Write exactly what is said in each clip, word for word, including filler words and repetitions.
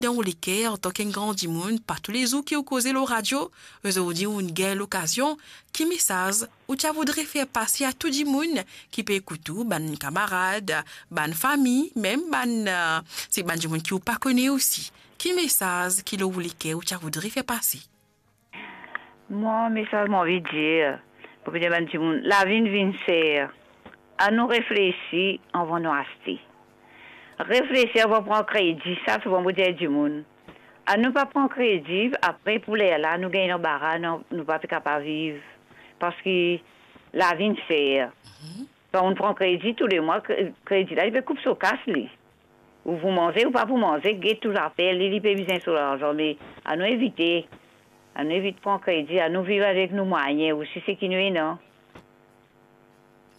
Dan ou leker, antan ki enn gran dimoun, pa toulezour ki ou koze lor radio, zordi ou gagn lokazion, ki mesaz ou ti a voudre fer pase a tou dimoun ki pe ekout ou, bann kamarad, bann fami, mem bann, eh, se bann dimoun ki ou pa kone osi? Ki mesaz ki lor ou leker ou ti a voudre fer pase? Mwa, mesaz mo anvi dir, pou dir bann dimoun, lavi vinn ser. Anou reflesi avan nou aste. Reflesi avan pran kredi, sa sovan mo dir dimoun. Anou pa pran kredi, apre pou lerla, nou gagn lanbara, nou, nou pa pe kapav viv. Parski lavi ser. Mhm. Kan ou pran kredi, toulemwa, kre-, kredi la, li pe koup so kas, li. Ou pou manze, ou pa pou manze, get tou zafer li, li pe bizin so larzan, me anou evite. Anou evit pran kredi, anou viv avek nou mwayin osi, seki nou ena.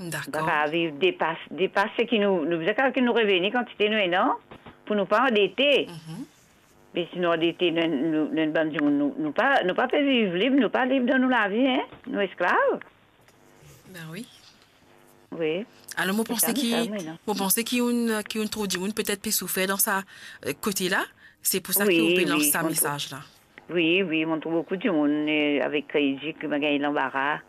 Dakor. Pa viv depas, depas seki nou, nou bizin kav ki nou reveni kantite nou ena, pou nou pa andete. Mhm. Me si nou andete, nou, nou, nou bann dimoun, nou, nou pa, nou pa pe viv lib, nou pa lib dan nou lavi, en. Nou esklav. Ben wi. Wi. Alor, mo panse ki, mo panse ki enn, ki enn tro dimoun petet pe soufer dan sa, eh, kote la. Se pou sa ki ou pe lans sa mesaz la. Wi, wi, mo trouv boukou dimoun, eh, avek kredi, ki gagn lanbara.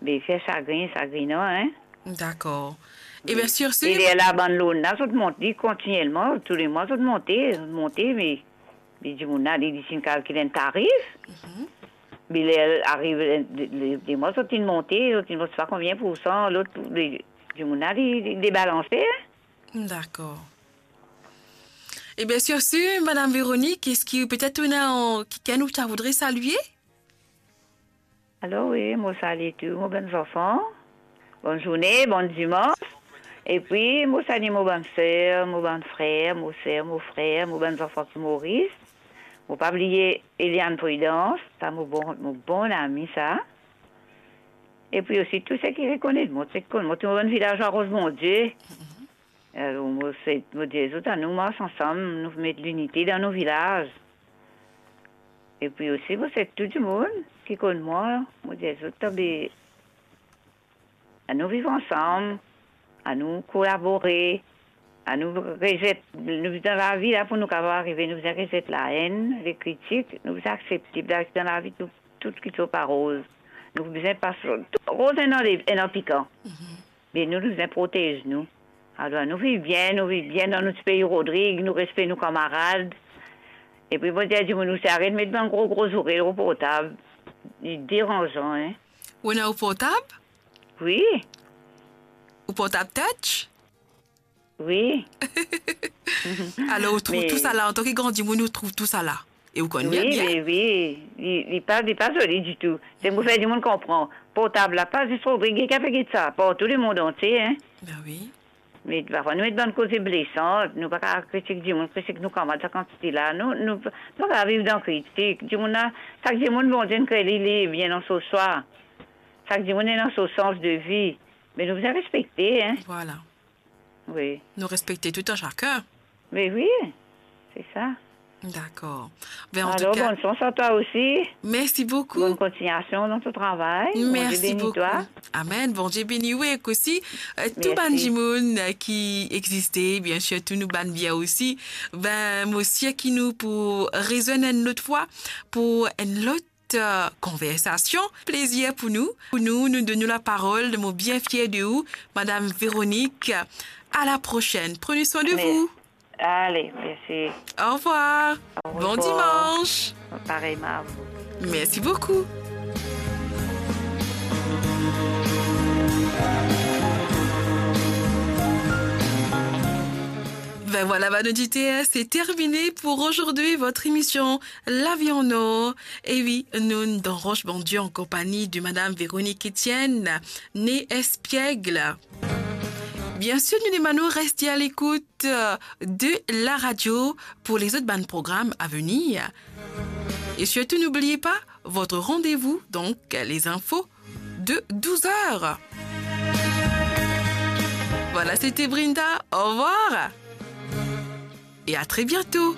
Be, fer sagrin, sagrin, non, en? Dakor. Ebien, sir, sir. E lerla, bann loan la, zot mont li kontinielman, toulemwa, zot monte, zot monte, me, me dimoun la, li, li finn kalkil enn tarif. Mhm. Me ler ariv, eh, de, de, de mwa, zot inn monte, zot inn monte pa konbien poursan, lot, li, dimoun la, li, li debalanse, en. Dakor. Ebien, sir, sir, Madam Véronique, eski petet ou ena kikenn ou ta voudre salie? Alor, wi, mo salie tou mo bann zanfan. Bonn zourne, bonn dimans. Epi, mo salie mo bann ser, mo bann frer, mo ser, mo frer, mo bann zanfan ki Moris. Mo pa bliye Eliane Prudence, sa mo bon, mo bon ami sa. Epi osi tou seki rekonet mo, seki konn mo, tou mo bann vilaz Laros Bondie. Alor, mo swet, mo dir zot, anou mars ansam, nou met linite dan nou vilaz. Epi osi, mo swet tou dimoun ki konn mwa, mo dir zot, tanbe, anou viv ansam, anou kolabore, anou rezet, nou dan lavi la pou nou kapav arive, nou bizin rezet laenn, lekritik, nou bizin aksepte, dan lavi tou, tou kiksoz pa roz. Nou bizin pas, tou roz ena, ena pikan. Mhm. Me nou, nou bizin protez nou. Alor, nou viv bien, nou viv bien dan nou ti pei Rodrig, nou respekte nou kamarad. Epi, mo dir dimoun, nou ti aret met bann gro, gro zoure lor portab. Li deranzan, en. Ou ena ou portab? Wi. Ou portab touch? Wi. Alor, ou trouv tou sa la, antan ki gran dimoun, ou trouv tou sa la? E ou konn li bien. Wi, wi, li, li pa, li pa zoli ditou. Se pou fer dimoun konpran. Portab la, pa zis Rodrig ki pe get sa, partou lemond antie, en. Ben wi. Me parfwa nou met bann koze blesan, nou pa kav kritik dimoun, kritik nou kamarad, sa kantite la. Nou, nou, nou pa kav viv dan kritik. Dimoun la, sak dimoun Bondie inn kre li, li bien dan so swa. Sak dimoun ena so sans de vi. Me nou bizin respekte, en. Vwala. Wi. Nou respekte tou an sakenn. Me wi, se sa. Dakor. Ben, an tou ka, bonn sans a twa osi. Mersi boukou. Bonn kontignasion dan to travay. Mersi boukou. Bondie beni twa. Amen. Bondie beni ou ek osi, eh, tou bann dimoun, eh, ki existe, biensir, tou nou bann bien osi. Ben, mo sir ki nou pou rezwenn enn lot fwa pou enn lot eh, konversasion. Plezir pou nou. Pou nou, nou donn ou laparol, mo bien fier de ou, Madam Véronique. À la prochaine. Prenez soin de vous. Allez, merci. Au revoir. Au revoir. Bon dimanche. Pareillement à vous. Merci beaucoup. Ben voilà, bann oditer, c'est terminé pour aujourd'hui, votre émission Lavi an Or. E wi, nou dan Roche Bondie an konpagni de Madam Véronique Etienne, nee Espiègle. Biensir, nou demann ou reste à l'écoute, euh, de la radio pour les autres bann programmes à venir. Et surtout, n'oubliez pas votre rendez-vous, donc les infos de douze heures. Voilà, c'était Brinda. Au revoir. Et à très bientôt.